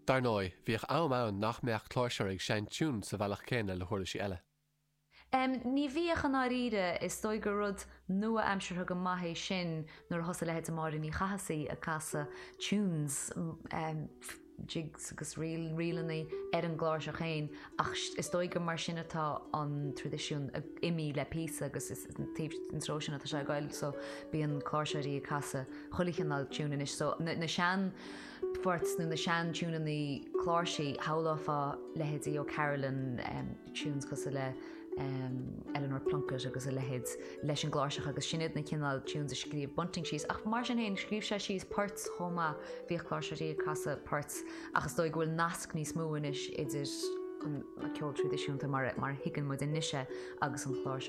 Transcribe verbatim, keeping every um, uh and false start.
Dar ndóigh, bhíodh am ann nach mbeadh cláirseoir ag seinnt tiún sa bhealach céanna le huirlisí eile. Um, ní bhíodh i ndáiríre is dóigh gur rud nua-aimseartha go maith é sin nuair a thosaigh leithéidí Máire Ní Chathasaigh ag casadh tunes um, jigs agus ríl ríleanna ar an gcláirseach féin ach is dóigh gur mar sin atá an traidisiún imithe le píosa agus is an taobh an treo sin atá sé ag goil so bíonn cláirseoirí ag casadh chuile chineál tiún anois so na, na sean phoirt nó na sean tiúineanna cláirsí shamhlófá leithéidí O'Carolan um, tunes cosúil le um, Eleanor Plunkett agus a leithéid leis an gcláirseach agus sin iad na cineál tunes a scríobh Bunting síos ach mar sin féin scríobh sé síos poirt chomh maith bhíodh cláirseoirí ag casadh poirt ach is dóigh go bhfuil nasc níos mó anois idir an ceol traidisiúnta mar mar a thuigeann muid anois é agus an chláirseach.